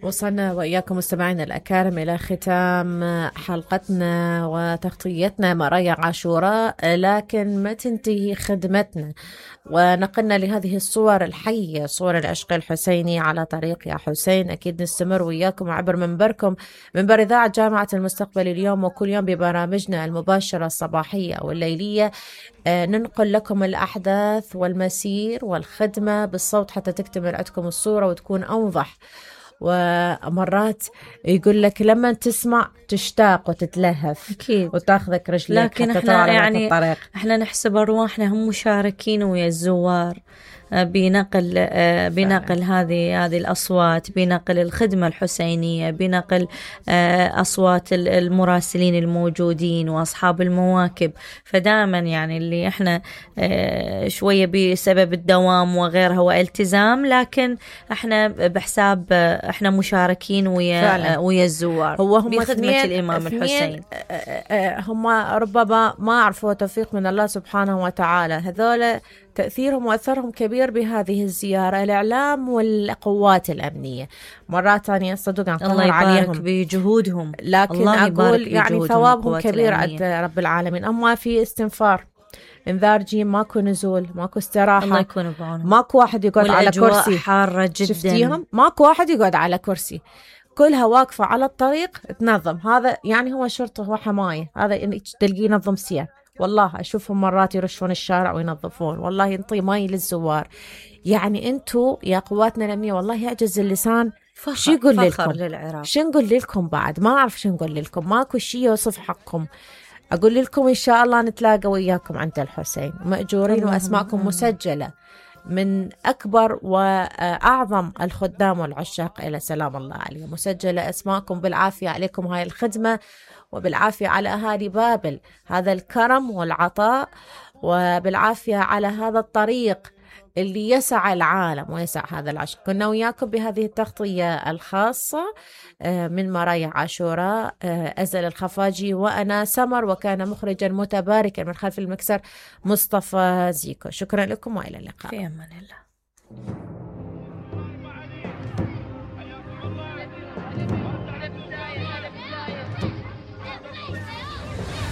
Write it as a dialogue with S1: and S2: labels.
S1: وصلنا وإياكم مستمعينا الأكارم إلى ختام حلقتنا وتغطيتنا مرايا عاشوراء، لكن ما تنتهي خدمتنا ونقلنا لهذه الصور الحية، صور العشق الحسيني على طريق يا حسين. أكيد نستمر وإياكم عبر منبركم، منبر إذاعة جامعة المستقبل اليوم، وكل يوم ببرامجنا المباشرة الصباحية أو الليلية ننقل لكم الأحداث والمسير والخدمة بالصوت حتى تكتمل عندكم الصورة وتكون أوضح. ومرات يقول لك لما تسمع تشتاق وتتلهف
S2: أكيد
S1: وتاخذك رجلك،
S2: لكن احنا يعني الطريق. احنا نحسب أرواحنا هم مشاركين ويا الزوار بنقل هذه الأصوات، بنقل الخدمة الحسينية، بنقل أصوات المراسلين الموجودين وأصحاب المواكب. فدائما يعني اللي احنا شوية بسبب الدوام وغيرها والتزام، لكن احنا بحساب احنا مشاركين ويا الزوار بخدمة الإمام الحسين.
S1: هم ربما ما عرفوا توفيق من الله سبحانه وتعالى، هذول تأثيرهم وأثرهم كبير بهذه الزيارة، الإعلام والقوات الأمنية. مرات ثانية صدق
S2: الله يبارك بجهودهم،
S1: لكن
S2: الله
S1: أقول يعني ثوابهم كبير عند رب العالمين. أما في استنفار، انذار جيم، ماكو نزول، ماكو استراحة،
S2: الله يكون بعونهم.
S1: ماكو واحد يقعد على كرسي،
S2: حارة جدا،
S1: شفتيهم؟ ماكو واحد يقعد على كرسي، كلها واقفة على الطريق تنظم. هذا يعني هو شرطة وحماية، هذا تلقيه ينظم سير. والله أشوفهم مرات يرشون الشارع وينظفون، والله ينطي ماي للزوار. يعني أنتوا يا قواتنا الأمنية والله يعجز اللسان شو يقول لكم، شو نقول لكم بعد، ما أعرف شو نقول لكم، ماكو شي يوصف حقكم. أقول لكم إن شاء الله نتلاقى وياكم عند الحسين مأجورين وأسماءكم مسجلة من أكبر وأعظم الخدام والعشاق إلى سلام الله عليه، مسجلة أسماءكم بالعافية عليكم هاي الخدمة، وبالعافية على أهالي بابل هذا الكرم والعطاء، وبالعافية على هذا الطريق اللي يسع العالم ويسع هذا العشق. كنا وياكم بهذه التغطية الخاصة من مرايا عاشوراء، أزل الخفاجي وأنا سمر، وكان مخرجا متباركا من خلف المكسر مصطفى زيكو. شكرا لكم وإلى اللقاء.
S2: في أمان الله.